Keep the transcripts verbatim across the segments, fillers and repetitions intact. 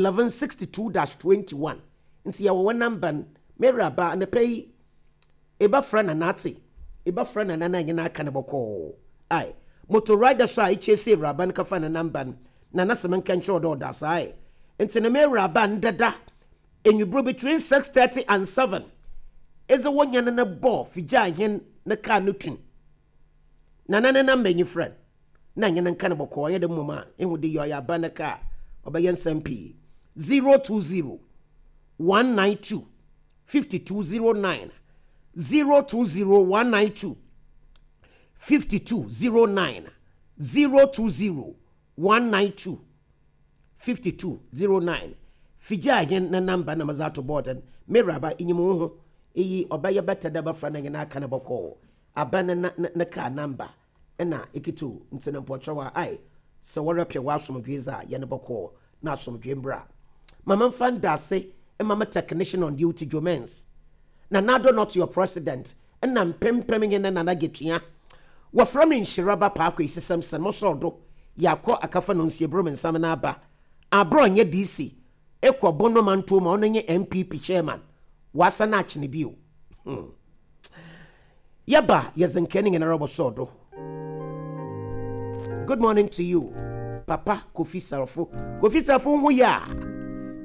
eleven sixty two dash twenty one. Nti yɛwɔ wɔ number no. Mewuraba, anapa yi ebɛfrɛ Nana ate, ebɛfrɛ Nana na enye no aka no bɔkɔɔ. Ae, motor rider so a ekyɛ ewuraba no kafa ne number no, Nana sɛ menka nkyerɛ wo dɛ ɔda ase. Ae, nti ne mewuraba ndeda enwibro between six thirty and seven edze wo nyane no bɔ figya hen ne car no tun. Nana ne number nyi, frɛ na nye ne nka no bɔkɔɔ. Ɔyɛ dɛ mmom a ehu de yɛ ɔyɛ aba ne car ɔbɛyɛ nsɛm pii. zero two zero one nine two five two zero nine, zero two zero one nine two five two zero nine, zero two zero one nine two five two zero nine. Figya yɛn ne number na madze ato board no. Mewuraba, enyim wo ho eyi ɔbɛyɛ bɛtɛ dɛ bɛfra no nye no aka no bɔkɔɔ. Aba ne ne ne car number ɛna ekito nti no mpɔkyɛw a ae sɛ wɔrepɛ w'asomdwe dze a yɛne bɔkɔɔ na asomdwe mbra. Mama mfa ndase mama technician on duty Jomens Nana not your president ɛna mpempem nye ne Nana Getua. Wɔfrɛ me Nhyiraba Paako esisɛm sɛn mɔsɔɔ do yɛakɔ akafa no nsiebrom nsɛm no aba aborɔ nyɛ D C ekɔ Bono manto ma ɔno nye N P P chairman wasa no akyene bio. hmm. Yɛba yɛdze nkɛ ne nyinara bɔsɔɔ do. Good morning to you, Papa Kofi Sarfo. Kofi Sarfo ho yɛ a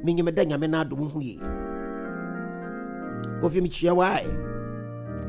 menyim dɛ Nyame no adom ho yie. Kofi, mekyia wae.